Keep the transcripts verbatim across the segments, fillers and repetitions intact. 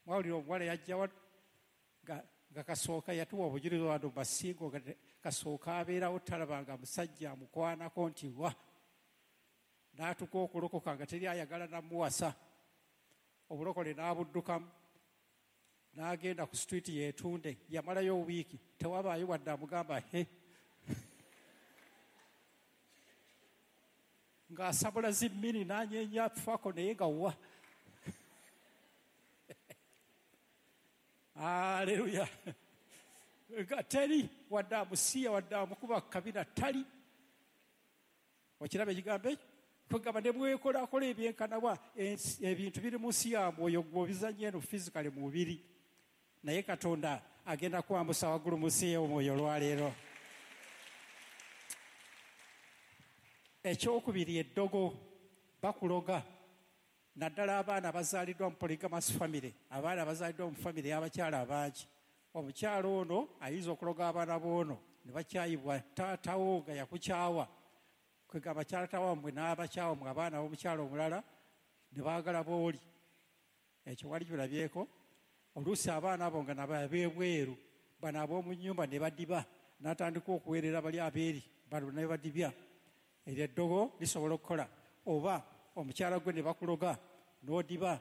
Mwawulira omuwala yajja wano nga, nga kasooka yatuwa obujulirwa wano basingo nga kasooka abeerawo talabanga musajja amukwanako nti wa n'atuuka okulokoka nga teri ayagala namuwasa. Obulokole n'abuddukamu n'agenda ku street yeetunde, yamalayo wiiki tewabaayo wadde amugamba he ng'asabula zimmini n'anyeenya fako naye nga wa. Aleluya. Nga teri wadde amusiya wadde amukuba kabina tali. Okiraba ekigambo ekyo? Kwegamba ne bwekolakola ebyenkanawa ebintu biri mu nsi ya mwoyo gw'obizannya eno physically mu mubiri, naye Katonda agenda kwambusa waggulu mu nsi y'omwoyo olwaleero. Ekyokubiri, eddogo. Bakuloga, naddala abaana abazaaliddwa mu polygamous family, abaana abazaaliddwa mu family y'abakyala abangi. Omukyala ono ayinza okuloga abaana b'ono ne bakyayibwa taatawo nga yakukyawa. Kwegamba taata wammwe n'abakyawa mmwe abaana b'omukyala omulala ne baagala b'oli. Ekyo wali kirabyeko. Oluusi abaana abo nga nabo ab'ebweru, bano ab'omu nnyumba ne badiba, n'atandika okuweerera bali abeeri, bano ne badibya. Eryo eddogo lisobola okukola. Oba omukyala gwe ne bakuloga n'odiba,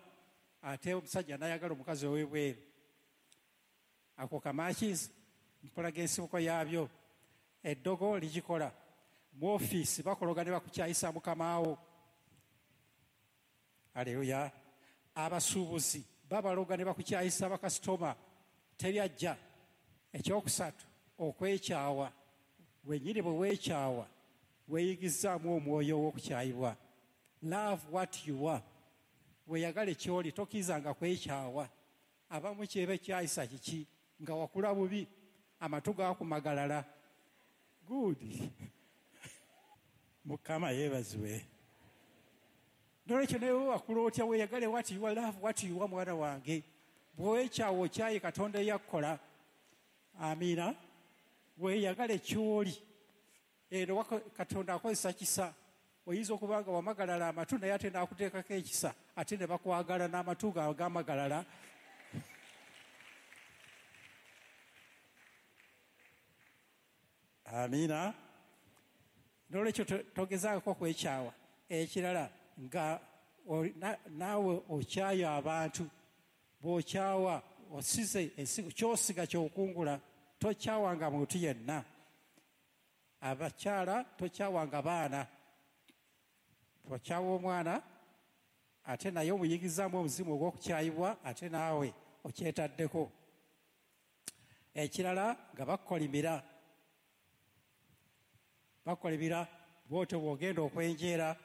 ate omusajja n'ayagala omukazi ow'ebweru. Ako kamakizi mpolaga ensibuko yaabyo. Eddogo ligikola. Mu ofiisi bakuloga ne bakukyayisa mukamaawo. Aleluya. Abasuubuzi babaloga ne bakukyayisa bakasitoma, teri ajja. Ekyokusatu, okwekyawa. Wennyini bwe weekyawa weeyigizaamu omwoyo ow'okukyayibwa. Love what you are. Weeyagale ky'oli, tokkirizanga kwekyawa. Abamu kyebe kyayisa kiki nga wakula bubi, amatu gaakumagalala. Good. Mukama yeebazibwe. Nolwekyo naye wakula otya, weeyagale what you are, love what you are, mwana wange. Bw'owekyawa okyaye Katonda eyakkola. Amiina. Weeyagale ky'oli. Eno Katonda akozesa kisa. Oyinza okuba nga wamagalala amatu naye ate n'akuteekako ekisa, ate ne bakwagala n'amatu gaabwe gamagalala. Amiina. Nolwekyo togezaako kwekyawa. Ekirala nga naawe okyayo abantu, bw'okyawa osize ensigo, ky'osiga ky'okungula. Tokyawanga muntu yenna. Abakyala tokyawanga baana. Okyawa omwana ate naye omuyigizaamu omuzimu ogw'okukyayibwa, ate naawe okyetaddeko. Ekirala nga bakukolimira, bakukolimira bw'otyo bw'ogenda okwenjeera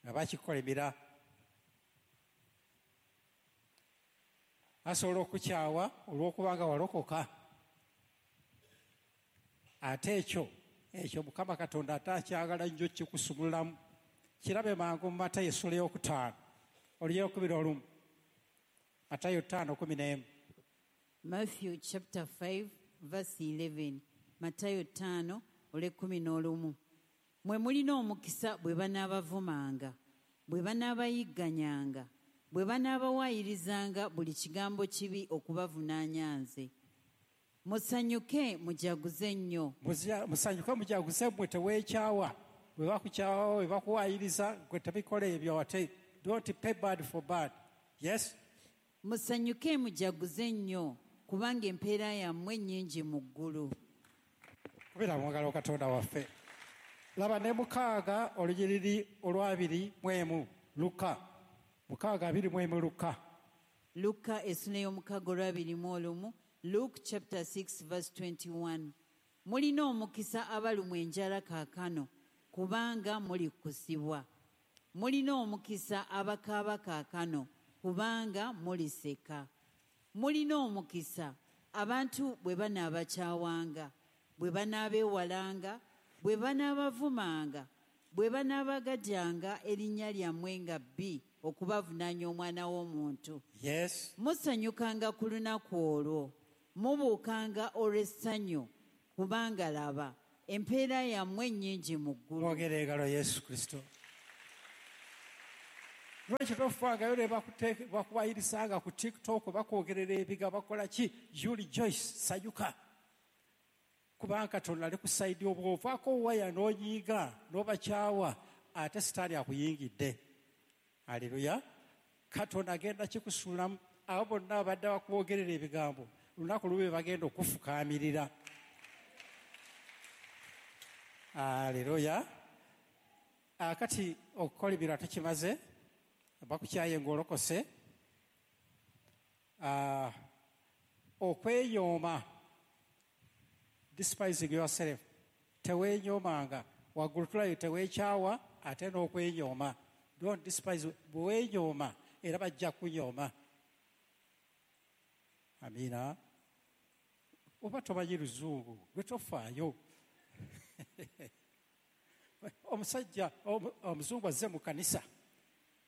nga bakikukolimira. Asobola okukyawa olw'okubanga walokoka, ate ekyo ekyo Mukama Katonda ate akyagala nnyo kikusumululamu. Kirabe mangu mu Matayo essula ey'okutaano olunyiriri olumu. Matayo ttaano kumi n'emu. Matthew chapter five verse eleven. Matayo ttaano olw'ekkumi n'olumu. Mwe mulina omukisa bwe banaabavumanga, bwe banaabayigganyanga, bwe banaabawayirizanga buli kigambo kibi okubavunaanya nze. Musanyuke mujaguze nnyo. Musanyuke mujaguze mmwe, teweekyawa. Bwe bakukyawa, bwe bakuwaayiriza, gwe tebikola ebyo ate. Don't pay bad for bad. Yes? Musanyuke mujaguze nnyo, kubanga empeera yammwe nnyingi mu ggulu. Kubira mu ngalo Katonda waffe. Laba ne mukaaga olunyiriri olw'abiri mu emu, Luka. Mukaaga abiri mu emu, Luka. Luka essula ey'omukaaga olw'abiri mu olumu. Luke chapter six verse twenty-one. Mulina omukisa abalumwa enjala kaakano, kubanga mulikkusibwa. Mulina omukisa abakaaba kaakano, kubanga muliseka. Mulina omukisa abantu bwe banaabakyawanga, bwe banaabeewalanga, bwe banaabavumanga, bwe banaabagajjanga erinnya lyammwe nga bbi okubavunaanya omwana w'omuntu. Yes. Musanyukanga ku lunaku olwo, mubuukanga olw'essanyu, kubanga laba empeera yammwe nnyingi mu ggulu. Mwogere engalo Yesu Kristo. Lwaki tofangayo ne bakuwayirisanga ku TikTok, bakwogerera ebiga, bakola ki? You rejoice, sanyuka. Kubanga Katonda ali ku sayidi obw'ovaako waya n'onyiiga n'obakyawa, ate sitaani akuyingidde. Aleluya. Katonda agenda kikusuulamu. Abo bonna abadde bakwogerera ebigambo, lunaku lube bagenda okufukaamirira. Aleluya. Akati okukola ebirala tukimaze, bakukyaye ng'olokose. Okweyooma, despising yourself, teweenyoomanga. Waggulu tulayo teweekyawa ate n'okwenyooma. Don't despise, bwe weenyooma era bajja kunyooma. Amiina. Oba tomanyi luzungu, gwe tofaayo. Omusajja omuzungu azze mu kanisa,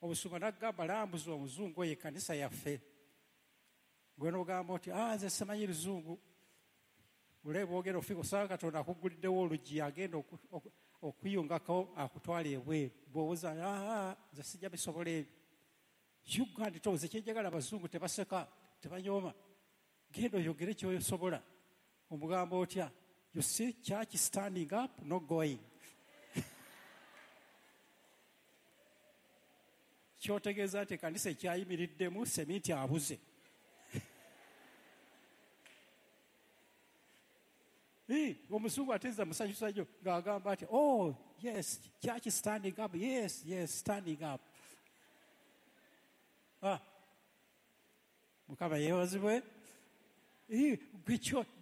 omusumba n'agamba lambuza omuzungu oyo ekkanisa yaffe. Gwe n'ogamba oti, ah, nze simanyi luzungu. Ole bwogera ofika osanga Katonda akugguliddewo oluggi, agenda okuyungako akutwala ebweru. Bw'owoza, ah, nze sijja bisobola ebyo. Uganda towoza kyenjagala, abazungu tebaseka, tebanyooma. Genda oyogere ky'osobola. Omugamba otya? You see church standing up, not going. Kyotegeeza nti ekkanisa ekyayimiriddemu seminti abuze. Omuzungu ate nze musanyusa nnyo ng'agamba nti, oh yes, church standing up, yes, yes, standing up. Ah, Mukama yeebazibwe.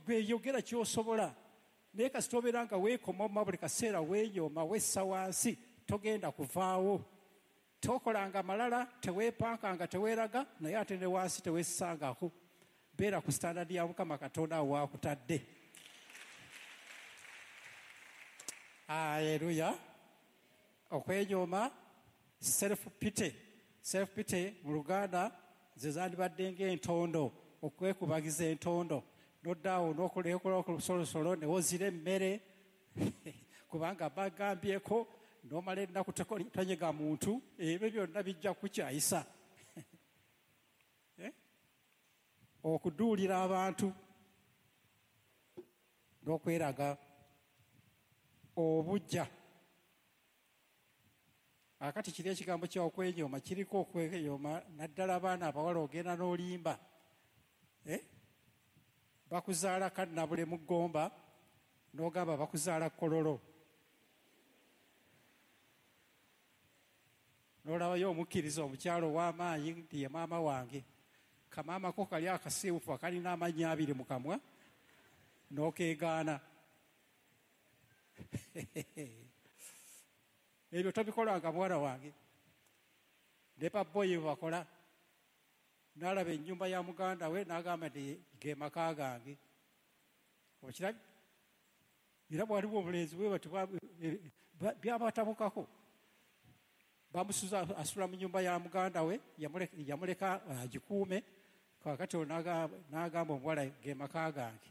Gwe yogera ky'osobola, naye kasita obeera nga weekomoma buli kaseera, weenyooma, wessa wansi, togenda kuvaawo. Tokolanga malala, teweepankanga, teweeraga, naye ate ne wansi teweessangako. Beera ku standard ya Mukama Katonda awo waakutadde. Aleluya. Okwenyooma, self pity. Self pity mu Luganda ze zandibadde ng'entondo, okwekubagiza entondo. N'oddaawo n'okola olusolosolo ne wozira emmere kubanga bagambyeko, n'omala ennaku tonyega muntu, ebyo byonna bijja kukyayisa. Okuduulira abantu n'okweraga obujja. Akati kiri ekigambo kya okwenyooma kiriko okwenyooma, naddala abaana abawala ogenda n'olimba. Eh? Bakuzaala Kannabule mu Ggomba, n'ogamba bakuzaala Kololo. N'olabayo omukkiriza omukyalo ow'amaanyi nti ye maama wange. Kamaama ko kali akasiiwufu akalina amannyo abiri mu kamwa, n'okeegaana. Ebyo tobikolanga muwala wange. Ne babboyi bwe bakola, n'alaba ennyumba ya muganda we n'agamba nti ge maka gange. Okirabye? Era bwaliwo obulenzi bwe bati byabatabukako. Bamusuza asula mu nnyumba ya muganda we, yamuleka agikuume. Kaakati n'agamba omuwala ge maka gange.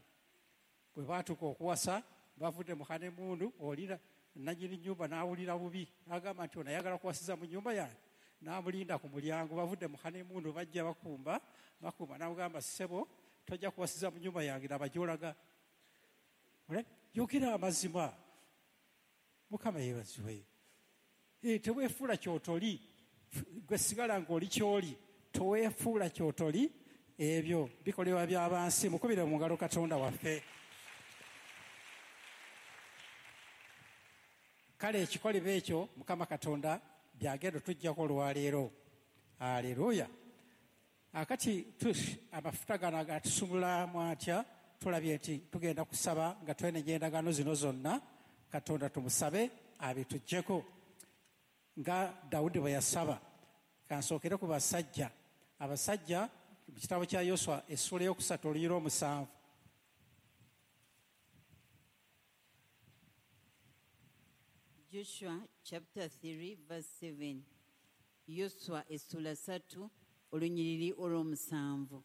Bwe baatuuka okuwasa, bavudde mu honeymoon, olira nannyini nnyumba n'awulira bubi, n'agamba nti ono ayagala kuwasiza mu nnyumba yange. N'amulinda ku mulyango, bavudde mu honeymoon bajja bakumba, bakumba, n'amugamba ssebo tojja kuwasiza mu nnyumba yange, laba gy'olaga. Yogera amazima. Mukama yeebazibwe. Teweefuula ky'otoli, gwe sigala ng'oli ky'oli, toweefuula ky'otoli, ebyo bikolebwa by'abansi. Mukubire mu ngalo Katonda waffe. Kale ekikolebwa ekyo Mukama Katonda byagenda tujjako olwaleero. Aleluya. Akati amafuta gano agatusumulamu atya? Tulabye nti tugenda kusaba nga twenenya endagaano zino zonna. Katonda tumusabe abituggyeko nga Dawudi bwe yasaba. Kansookere ku basajja. Abasajja mu kitabo kya Yoswa essuula ey'okusatu olunyiriri omusanvu. Joshua chapter three verse seven. Yoswa essula ssatu olunyiriri olw'omusanvu.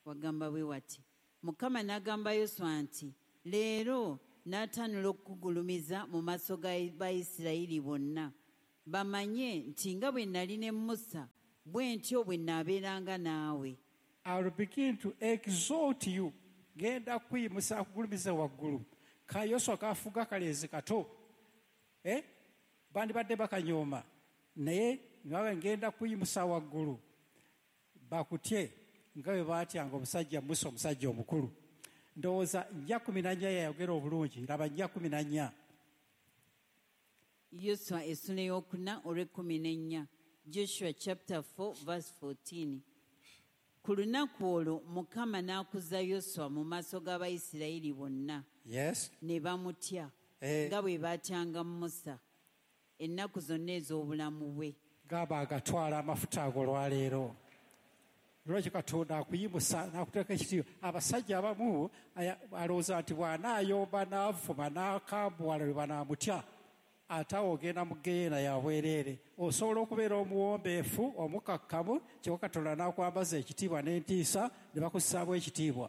Wagamba bwe wati, Mukama n'agamba Yoswa nti, leero n'atanula okukugulumiza mu maaso ga Bayisirayiri bonna. Bamanye nti nga bwe nali ne Musa, bwe ntyo bwe nnaabeeranga naawe. I will begin to exalt you. Ngenda kuyimusa akugulumiza waggulu. Ka Yoswa kafuga kalenzi kato. Eh? Bandibadde bakanyooma. Naye nawe ngenda kuyimusa waggulu. Bakutye nga bwe baatyanga omusajja Musa, omusajja omukulu. Ndowooza nnya kumi na nnya yayogera obulungi. Laba nnya kumi na nnya. Yoswa essula ey'okuna olw'ekkumi n'ennya. Joshua chapter four verse fourteen. Ku lunaku olwo Mukama n'akuza Yoswa mu maaso g'Abayisirayiri bonna. Yes. Ne bamutya Eh. nga bwe baatyanga Musa ennaku zonna ez'obulamu bwe. Gaba agatwala amafuta ago olwaleero. Lwaki Katonda akuyimusa n'akuteeka ekitiibwa? Abasajja abamu aya-, alowooza nti bw'anaayomba n'avuma n'akambuwala lwe banaamutya, ate awo ogenda mu ggeyeena ya bwereere. Osobola okubeera omuwombeefu, omukakkamu, kyokka Katonda n'akwambaza ekitiibwa n'entiisa ne bakussaamu ekitiibwa.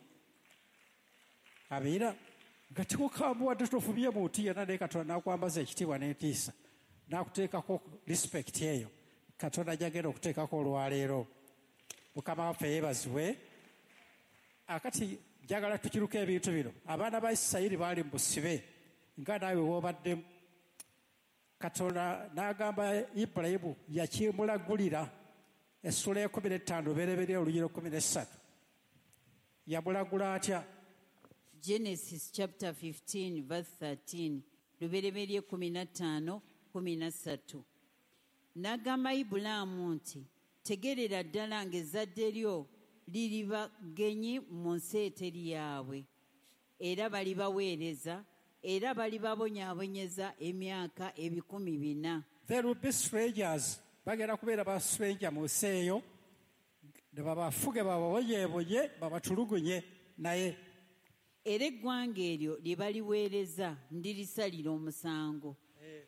Abeera nga tekukambuwadde, tofubye muntu yenna, naye Katonda n'akwambaza ekitiibwa n'entiisa n'akuteekako respect eyo Katonda gy'agenda okuteekako olwaleero. Mukama waffe yeebazibwe. Akati njagala tukiruke ebintu bino. Abaana ba Isirayiri baali mu busibe nga naawe w'obaddemu. Katonda n'agamba Ibulayimu, yakimulagulira essula y'ekkumi n'ettaano Lubereberye olunyiriri ekkumi n'essatu. Yamulagula atya? Genesis chapter fifteen verse thirteen. Lubereberye kkumi na ttaano kkumi na ssatu. N'agamba Ibulaamu nti, tegerera ddala ng'ezzadde lyo liriba ggenyi mu nsi eteri yaabwe, era balibaweereza, era balibabonyaabonyeza emyaka ebikumi bina. There will be strangers. Bagenda kubeera ba stranger mu nsi eyo, ne babafuge bababonyeebonye, babatulugunye naye. Era eggwanga eryo lye baliweereza ndirisalira omusango.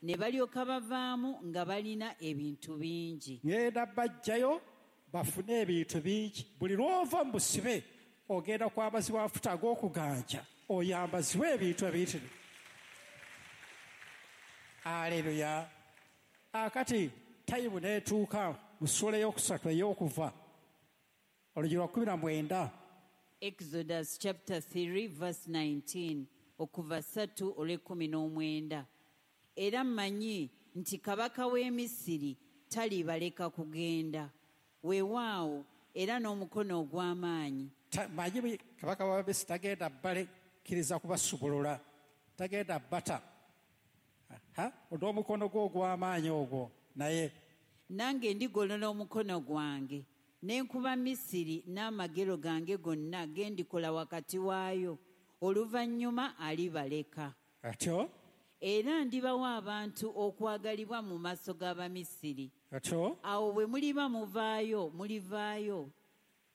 Ne balyoka bavaamu nga balina ebintu bingi. Ngenda bajjayo bafune ebintu bingi. Buli lw'ova mu busibe ogenda kwambazibwa amafuta ag'okuganja, oyambazibwe ebintu ebiyitirivu. Aleluya. Akati tayimu n'etuuka mu ssuula ey'okusatu ey'okuva olugero lwa kkumi na mwenda. Exodus chapter three verse nineteen, okuva ssatu olw'ekkumi n'omwenda. Era mmanyi nti kabaka w'e Misiri talibaleka kugenda. Weewaawo era n'omukono ogw'amaanyi. Ta-, mmanyi bwe kabaka wa Misiri tagenda balekkiriza kubasubulula, tagenda bata. Ha? N'omukono gwe ogw'amaanyi ogwo naye. Nange ndigolola omukono gwange ne nkuba Misiri n'amagero gange gonna ge ndikola wakati waayo, oluvannyuma alibaleka. Atyo? Era ndibawa abantu okwagalibwa mu maaso g'Abamisiri. Atyo? Awo bwe muliba muvaayo, mulivaayo,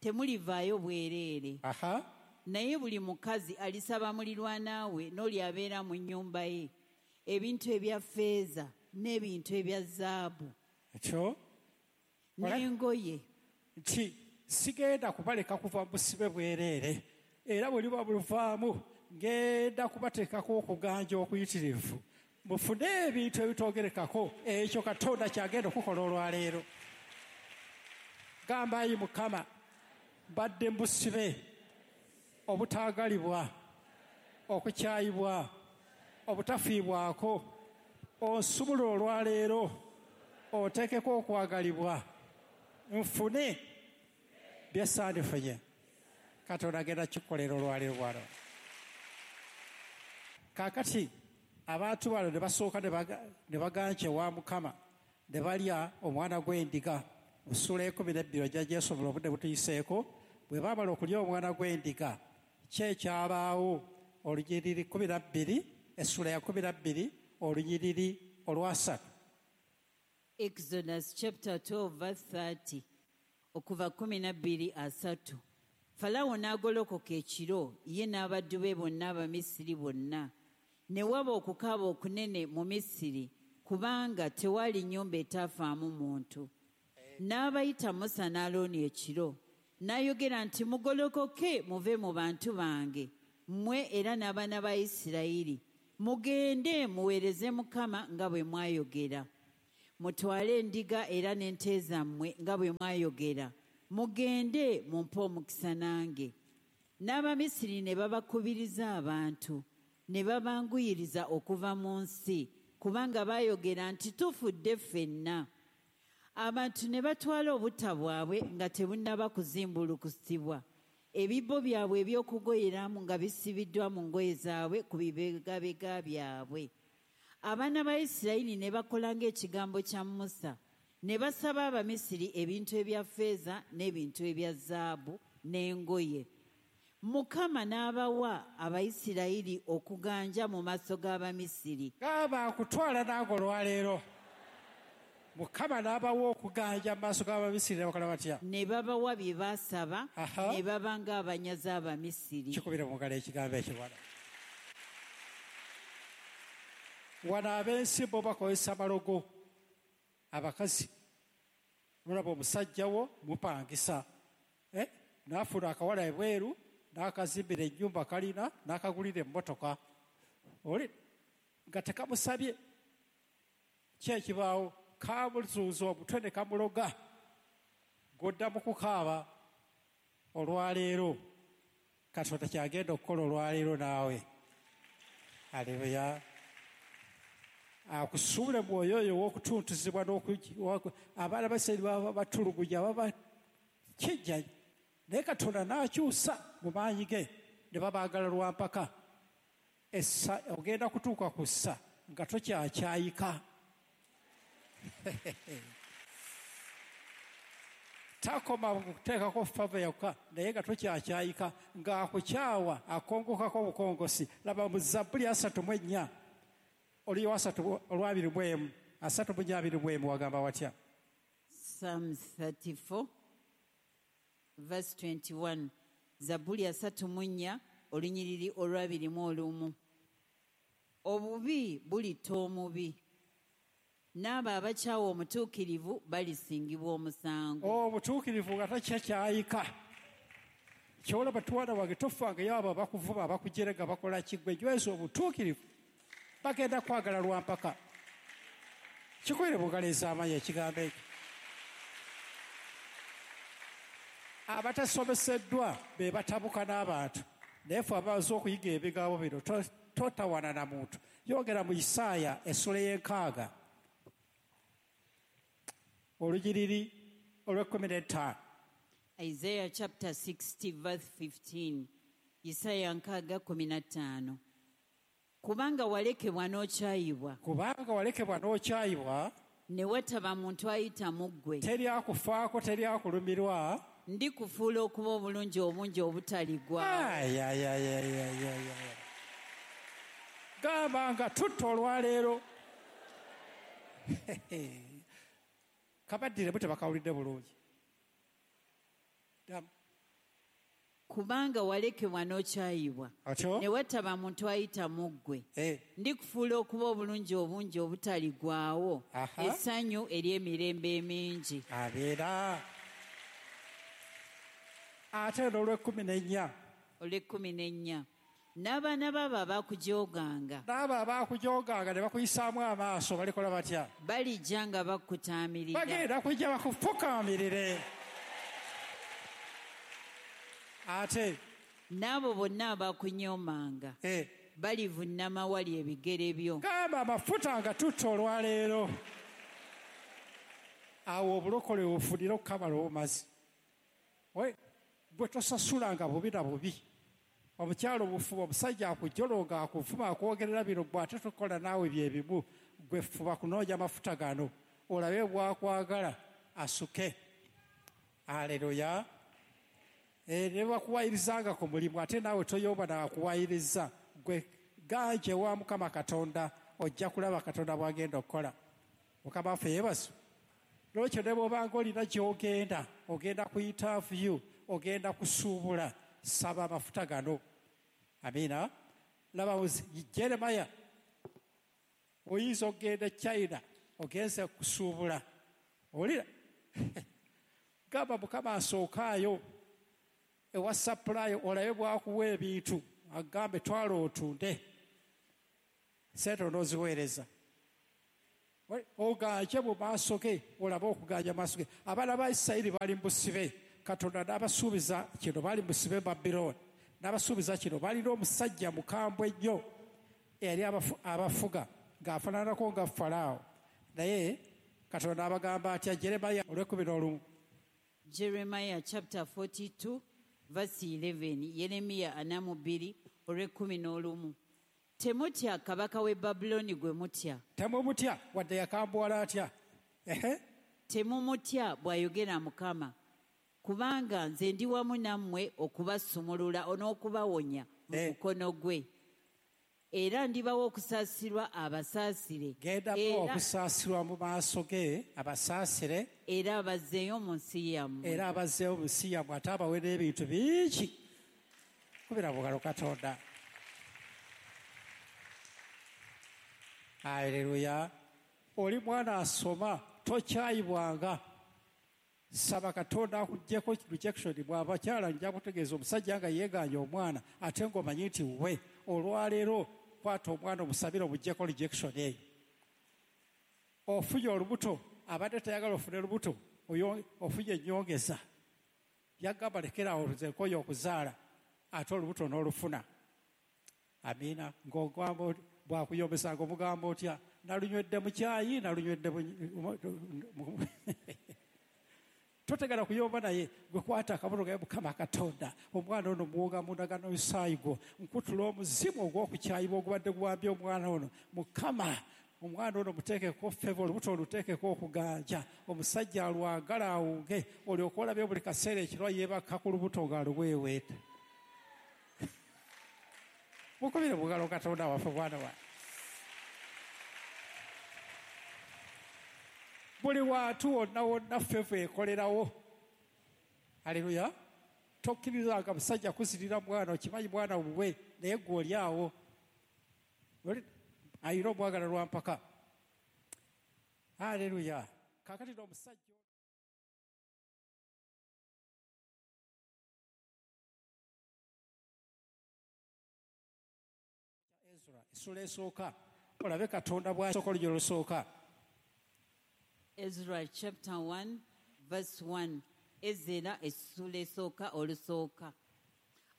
temulivaayo bwereere. Aha. Naye buli mukazi alisaba mulirwana we n'oli abeera mu nnyumba ye ebintu ebya ffeeza n'ebintu ebya zaabu. Atyo? N'engoye. Nti sigenda kubaleka kuva mu busibe bwereere, era bwe liba buluvaamu ngenda kubateekako okuganja okuyitirivu, mufune ebintu ebitoogerekako. Ekyo Katonda ky'agenda okukola olwaleero. Gamba, ayi Mukama, mbadde mu busibe obutaagalibwa, okukyayibwa, obutafiibwako. Onsumulule olwaleero, oteekeko okwagalibwa, nfune bye sandifunye. Katonda agenda kukikolera olwaleero bw'ano. Kaakati abantu bano ne basooka ne baga-, ne baganja ewa Mukama, ne balya omwana gw'endiga. Mu ssuula y'ekkumi n'ebbiri ojja gyesobola obudde butuyiseeko. Bwe baamala okulya omwana gw'endiga, ki ekyabaawo? Olunyiriri kkumi na bbiri, essula ya kkumi na bbiri, olunyiriri olwasatu. Exodus chapter twelve verse thirty, okuva kkumi na bbiri asatu. Falaawo n'agolokoka ekiro, ye n'abaddu be bonna Abamisiri bonna. Ne waba okukaaba okunene mu Misiri, kubanga tewaali nnyumba etaafaamu muntu. N'abayita Musa ne Alooni ekiro, n'ayogera nti, mugolokoke muve mu bantu bange, mmwe era n'abaana ba Isirayiri, mugende muweereze Mukama nga bwe mwayogera. Mutwale endiga era n'ente zammwe nga bwe mwayogera. Mugende mumpe omukisa nange. N'Abamisiri ne babakubiriza abantu, ne babanguyiriza okuva mu nsi, kubanga baayogera nti tufudde ffenna. Abantu ne batwala obutta bwabwe nga tebunnaba kuzimbulukusibwa. Ebibbo byabwe eby'okugoyeramu nga bisibiddwa mu ngoye zaabwe ku bibegabega byabwe. Abaana ba Isirayiri ne bakola ng'ekigambo kya Musa, ne basaba Abamisiri ebintu ebya ffeeza n'ebintu ebya zaabu n'engoye. Mukama n'abawa Abayisirayiri okuganja mu maaso g'Abamisiri. Gaba akutwala nange olwaleero. Mukama n'abawa okuganja mu maaso g'Abamisiri ne bakola batya? Ne babawa bye baasaba, Aha. ne baba ng'abanyazi Abamisiri. Kikubire mu ngalo ekigambo ekyo wano. Wano ab'ensi bo bakozesa malogo. Abakazi mulaba omusajja wo mupangisa. Eh? N'afuna akawala ebweru, n'akazimbira ennyumba kalina, n'akagulira emmotoka. Oli nga tekamusabye. Ki ekibaawo? Kamuzuuza omutwe ne kamuloga. Godda mu kukaaba olwaleero. Katonda kyagenda okukola olwaleero naawe. Aleluya. Akusuule mwoyo oyo ow'okutuntuzibwa n'oku-, abaana ba Isirayiri baba batulugunya, baba kijja. Naye Katonda n'akyusa mu maanyi ge ne babaagala lwa mpaka. Essa, ogenda kutuuka ku ssa nga tokyakyayika. Takoma kuteekako fava yokka, naye nga tokyakyayika, ng'akukyawa akongokako obukongosi. Laba mu Zabbuli asatu mu ennya, oliyo asatu olwabiri mu emu, asatu mu nnya abiri mu emu wagamba watya? Psalms thirty-four verse twenty-one. Zabbuli asatu mu nnya, olunyiriri olwabiri mu olumu. Obubi bulitta omubi, n'abo abakyawa omutuukirivu balisingibwa omusango. Omutuukirivu nga takyakyayika. Ky'olaba twana wange tofangayo abo abakuvuma, abakujerega, bakola ki? Ggwe nyweza obutuukirivu, bagenda kwagala lwa mpaka. Kikubire mu ngalo ez'amaanyi ekigambo ekyo. Abatasomeseddwa be batabuka n'abantu, naye ffe abaze okuyiga ebigambo bino to-, totawana na muntu. Yogera mu Isaaya essula y'enkaaga, olunyiriri olw'ekkumi n'ettaano. Isaiah chapter sixty verse fifteen. Isaaya nkaaga kkumi na ttaano. Kubanga walekebwa n'okyayibwa. Kubanga walekebwa n'okyayibwa. Ne wataba muntu ayita mu ggwe. Teri akufaako, teri akulumirwa. Ndikufuula okuba obulungi obungi obutaligwa. Ay, ay, ay, ay, ay, ay, ay. Gamba nga tutta olwaleero. Kabaddire bo tebakawulidde bulungi. Dam. Kubanga walekebwa n'okyayibwa. Atyo? Ne wataba muntu ayita mu ggwe. Eh. Ndikufuula okuba obulungi obungi obutaligwawo. Aha. Essanyu ery'emirembe emingi. Abeera. Ate n'olw'ekkumi n'ennya. Olw'ekkumi n'ennya. N'abaana baabo abakujooganga. N'abo abakujooganga ne bakuyisaamu amaaso balikola batya? Balijja nga bakutaamirira. Bagenda kujja bakufukaamirire. Ate n'abo bonna abakunyoomanga. Eh. Balivunnama wali ebigere byo. Gamba amafuta nga tutta olwaleero. Awo obulokole obufunire okukamala obumazi. Oye, bwe tosasulanga bubi na bubi. Omukyalo obufuba, omusajja akujolonga, akuvuma, akwogerera bino, gwe ate tokola naawe bye bimu. Gwe fuba kunoonya amafuta gano, olabe bw'akwagala asuke. Aleluya. Eh, ne bakuwayirizanga ku mulimu, ate naawe toyomba n'akuwayiriza. Gwe ganje wa Mukama Katonda, ojja kulaba Katonda bw'agenda okukola. Mukama waffe yeebazibwe. N'olwekyo ne bw'obanga olina gy'ogenda, ogenda ku interview, ogenda kusuubula, saba amafuta gano. Amiina. Laba Jeremiah, oyinza okugenda e China, ogenze kusuubula. Owulira? Gamba Mukama asookaayo ewa supply, olabe bw'akuwa ebintu, agambe twala otunde, ssente onooziweereza. Oganje mu maaso ge, olabe okuganja maaso ge. Abaana ba Isirayiri bali mu busibe. Katonda n'abasuubiza kino, bali mu busibe Babilooni. N'abasuubiza kino, balina omusajja mukambwe nnyo eyali abafuga ng'afaananako nga Falaawo. Naye Katonda abagamba atya? Jeremiah olw'ekkumi n'olumu. Jeremiah chapter forty-two verse eleven. Yeremiya ana mu bbiri olw'ekkumi n'olumu. Temutya kabaka w'e Babulooni gwe mutya. Temumutya wadde yakambuwala atya. Ehe. Temumutya bw'ayogera Mukama, kubanga nze ndi wamu nammwe okubasumulula n'okubawonya mu mukono gwe. Era ndibawa okusaasirwa abasaasire. Genda okusaasirwa mu maaso ge abasaasire. Era abazzeeyo mu nsi yammwe. Era abazzeeyo mu nsi yammwe ate abawe n'ebintu bingi. Kubira bugalo Katonda. Haleluya. Oli mwana asoma tokyayibwanga. Saba Katonda akuggyeko rejection. Bw'abakyala nja kutegeeza omusajja nga yeegaanye omwana ate ng'omanyi nti we olwaleero kwata omwana omusabire omuggyeko rejection eyo. Ofunye olubuto, abadde tayagala ofune lubuto, ofunye ennyongeza. Yagamba lekerawo nze nkoye okuzaala ate olubuto n'olufuna. Amiina. Ng'ogamba bw'akuyombesa ng'omugamba otya? Nalunywedde mu kyayi, nalunywedde mu totegala kuyomba naye gwe kwata akabonero ga Mukama Katonda. Omwana ono muwoga mu ndagaano y'omusaayi gwo, nkutula omuzimu ogw'okukyayibwa ogubadde guwambye omwana ono. Mukama, omwana ono muteekeko favour, olubuto oluteekeko okuganja, omusajja alwagala awunge, olyoke olabye buli kaseera ekiro yeebaka ku lubuto ng'aluweeweeta. Mukubire bugalo Katonda waffe mwana wange. Buli wantu wonna wonna favour ekolerawo. Haleluya. Tokkirizanga musajja kuzirira mwana, okimanyi mwana wuwe, naye gwe oli awo. Ayina omwagala lwa mpaka. Haleluya. Kaakati n'omusajja Ezra essula esooka olabe Katonda bw'asooka olugero olusooka. Ezra chapter one verse one. Ezera essula esooka olusooka.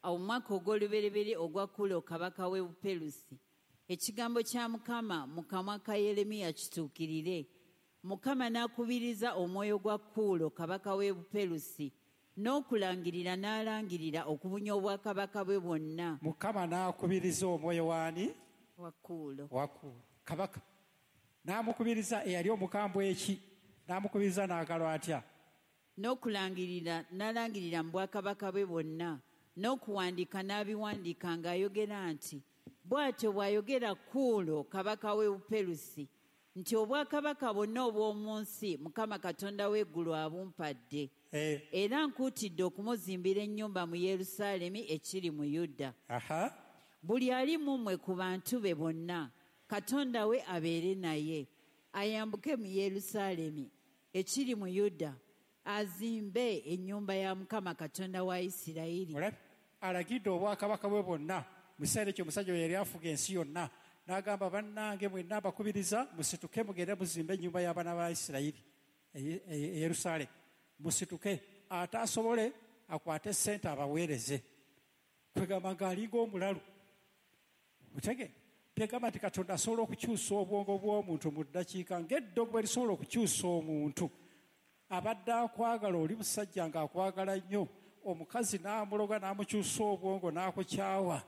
Awo mwaka ogw'olubereberye ogwa Kuulo kabaka w'e Buperusi, ekigambo kya Mukama mu kamwa ka Yeremiya kituukirire. Mukama n'akubiriza omwoyo gwa Kuulo kabaka w'e Buperusi n'okulangirira n'alangirira okubunya obwakabaka bwe bwonna. Mukama n'akubiriza omwoyo w'ani? Wa Kuulo. Wa Kuulo kabaka. N'amukubiriza eyali omukambwe eki? N'amukubiriza n'agalwa atya? N'okulangirira n'alangirira mu bwakabaka bwe bwonna, n'okuwandiika n'abiwandiika ng'ayogera nti, bw'atyo bw'ayogera Kuulo kabaka w'e Buperusi nti obwakabaka bwonna obw'omu nsi Mukama Katonda w'eggulu abumpadde. Era nkuutidde okumuzimbira ennyumba mu Yerusaalemi ekiri mu Yuda. Buli ali mu mmwe ku bantu be bonna Katonda we abeere naye, ayambuke mu Yerusaalemi ekiri mu Yuda, azimbe ennyumba ya Mukama Katonda wa Isirayiri. Alagidde obwakabaka bwe bwonna. Mu kiseera ekyo omusajja oyo yali afuga ensi yonna, n'agamba bannange mwenna abakubiriza musituke mugende muzimbe ennyumba y'abaana ba Isirayiri e Yerusaalemi. Musituke ate asobole akwate ssente abaweereze. Kwegamba ng'alinga omulalu. Mutege byegamba nti Katonda asobola okukyusa obwongo bw'omuntu mu ddakiika ng'eddogo bwe lisobola okukyusa omuntu. Abadde akwagala oli musajja ng'akwagala nnyo, omukazi n'amuloga n'amukyusa obwongo n'akukyawa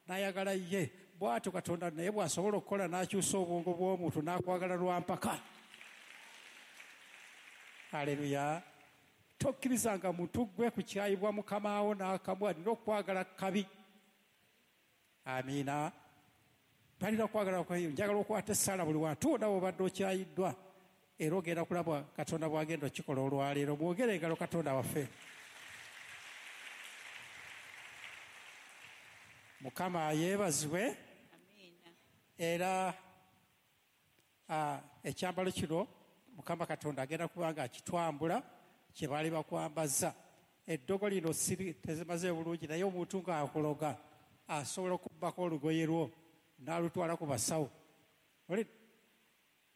n'ayagala ye. Bw'atyo Katonda naye bw'asobola okukola n'akyusa obwongo bw'omuntu n'akwagala lwa mpaka. Haleluya. Tokkirizanga muntu gwe kukyayibwa mukamaawo n'akamu, alina okwagala kabi. Amiina. Balina okwagala kabi. Njagala okwata essaala buli wantu wonna w'obadde okyayiddwa, era ogenda kulaba Katonda bw'agenda okikola olwaleero. Mwogere engalo Katonda waffe. Mukama yeebazibwe. Era ekyambalo kino Mukama Katonda agenda kuba nga akitwambula kye baali bakwambaza. Eddogo lino siri tezimaze bulungi, naye omuntu ng'akuloga asobola okubbako olugoye lwo n'alutwala ku basawo.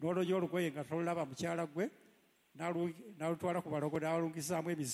N'olonya olugoye nga tolulaba, mukyala gwe n'alutwala ku balogo n'alungizaamu emizimu.